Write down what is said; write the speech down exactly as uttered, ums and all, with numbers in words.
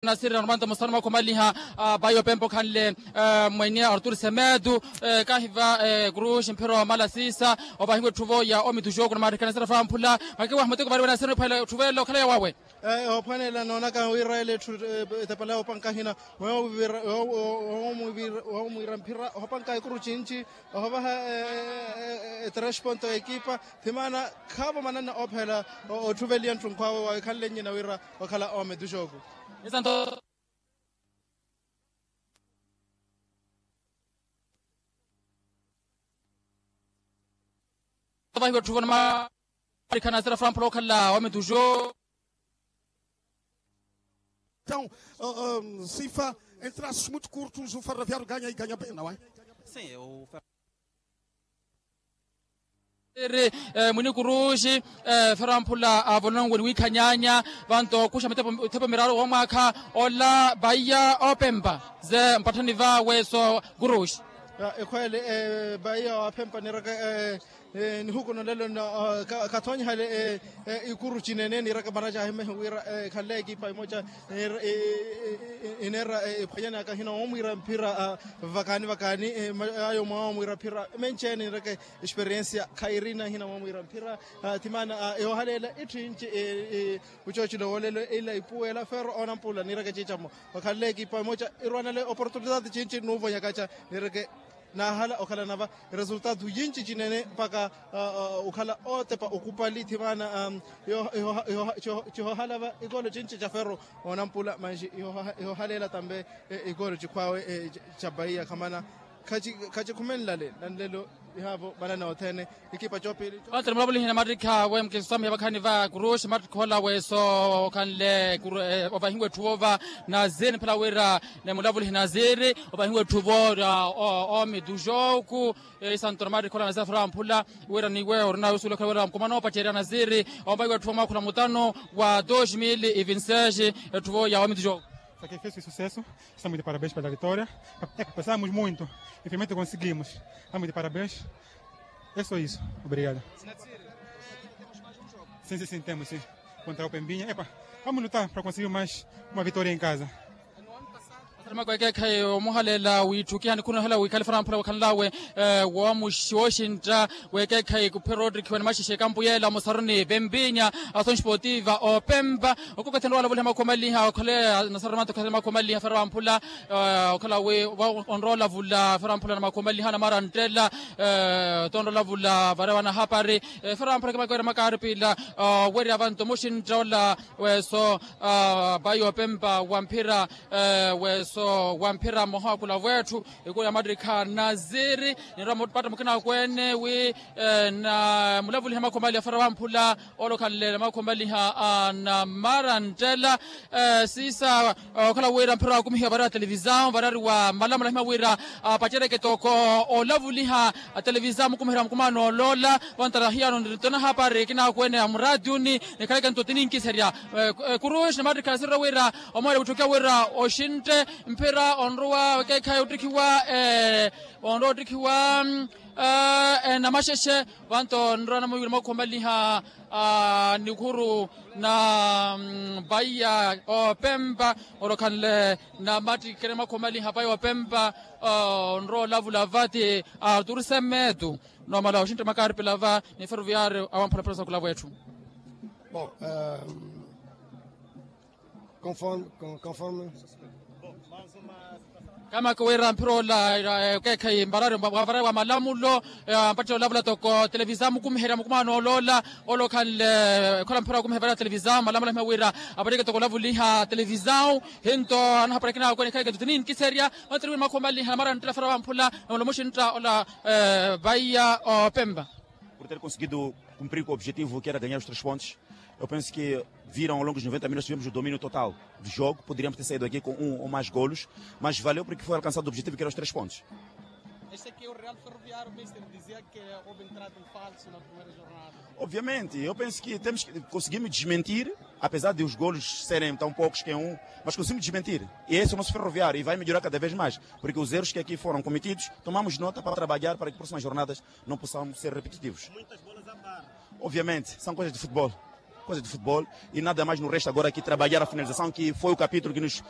Nasiri na rumanto musano mwakhomaliha. Bayi opempa okhanle mwene artur semetu kahiva kuruxi mphira omala sisa. Opahiwa etthuvo ya omituxoku na maarikha nasiri afamphula. Mwakiwaha muteko vari wenasiri niphwela etthuvo ela okhala yawawe. Ophwanela noonaka wira ele etthu etepela yopanka hina. Womwira mphira ohopanka ekuru cinci ohovaha etrasponto ekipa. Thimaana khaavo mananna oophela otthuveliya ntthunkhwaawe wawe khanle nnyina wira wakhala ometuxoku. Vahiwa etthuvo na maarikha nasiri afamphula okhala ometuxoku. Então, sifa em traços muito curtos o ferroviário ganha e ganha bem, não é? Ri mwini kuruxi. Fero amphula avolonwe ni wiikhanyaanya vanto okuxa mithepo miraru womwaakha ola vaiya opempa ze mpatthani vawe so kuruxi. Ekhweele vaiya opempa niraka nihuku nolelo kathoonyihale ikuru cinene niraka maraca ahimehe wira ekhanle ekipa emoca ineera ephwanyanaka hina womwiira mphira vakaani vakaani. Ayo mwawa omwiira mphira menceene niraka esperiensia khairina hina womwiira mphira. Thimaana ihohaleela itthinci ucocilo wolelo ila ipuwela fero onampula niraka eciicamo okhanle ekipa emoca irwanale oportunidade cinci nuvonyakaca niraka naahala okhalana va resultado yinci cinene mpaka okhala otepa okupali thimaana. Cihohala va ikolo cinci ca fero onampula manxi ihohaleela tambe ikolo cikhwaawe ca bahiya khamana khacikhumenlale nanlelo ihaavo manana othene. Ikipa coopili. Ontere mulavulihi na mattikha we mukiswamiha vakhani va kuruxi mattikha ola weso okhanle ovahiwa etthu vova naziri niphela wira ni mulavulihi naziri ovahiwa etthu vo. Omitu joku isanto na mattikha ola naziri afera amphula wira ni weyo orina yosuwela okhala wira mukuma noopacerya naziri ovahiwa etthu vo mwaakhula mutano wa dos mil e vinti seis. Etthu vo ya omitu joku. Sacrifício e sucesso. Estamos de parabéns pela vitória. Passamos muito e finalmente conseguimos. Estamos de parabéns. É só isso. Obrigado. Sim, sim, sim, temos sim. Contra o Pembinha. Epa, vamos lutar para conseguir mais uma vitória em casa. Makwekekhayi omuhalela witthukiha nikhunohela wikhale fera amphula wakhanlawe wooxintta. Wekekhayi kuphwe rodrik wene maxexe ekampu yeela musaruni pempinya. Asoxi potiva opempa okokothenra walavuliha makhuwa maliha okhale nasaramato khale makhuwa maliha fera amphula okhala wi onrola vula fera amphula na makhuwa maliha na maranttela. Tonrola vula varewa nahapari fera amphula kimakwera makaripila. Werya vanto muxintta ola weso bayi opempa wa mphira weso wa mphira mmoha wa kula wetthu ikulu ya mattikha naziri ninrwa mupatta mukina akwene wi na mulavuliha makhuwa maliha fera wamphula. Olokhanle na makhuwa maliha a na maranttela sisa okhala wira mphira wakumihiwa varari wa televisao varari wa malamula hima wira apacereke toko olavuliha televisao mukumiherya mukumano olola. Vantara hiyano nitona hapari kinakwene ya muratiuni nikhaleke nto tininkiserya kuruxi na mattikha nasirira wira omoyela witthukiwa wira oxintte mphira onrowa wekekhayi ottikhiwa onrowa ottikhiwa namaxexe. Vanto nrowa namuwira mwakhumaliha nikhuru na vaiya opempa olokhanle na mattikere mwakhumaliha vaiya opempa onrowa olavula vati artur semetu. Nomala oxintte makaripila va ni ferroviario awamphula mphira sakula vwetthu. Bon. Conforme conforme. Kamaka wira mphira ola okeekhayi mbarari wavarayi wa malamulo ampattile olavula toko televisao mukumiherya mukumano olola olokhanle ekhola mphira wakumiherya varayi wa televisao malamulo ahima wira apattike toko olavuliha televisao. Hinto anahapattike nawe kwenikhayi kento tiniinkiserya. Ontere wira makhumaliha na maranttela fera wamphula nomala muxintta ola vaiya opempa. Por ter conseguido cumprir com o objetivo que era ganhar os três pontos. Eu penso que viram ao longo dos noventa minutos tivemos o domínio total do jogo, poderíamos ter saído aqui com um ou mais golos, mas valeu porque foi alcançado o objetivo que era os três pontos. Este aqui é o Real Ferroviário, mister, dizia que houve entrada em falso na primeira jornada. Obviamente, eu penso que temos que conseguimos desmentir, apesar de os golos serem tão poucos que é um, mas conseguimos desmentir. E esse é o nosso Ferroviário e vai melhorar cada vez mais, porque os erros que aqui foram cometidos tomamos nota para trabalhar para que próximas jornadas não possam ser repetitivos. Obviamente, são coisas de futebol. Coisas de futebol. E nada mais nos resta agora que trabalhar a finalização, que foi o capítulo que nos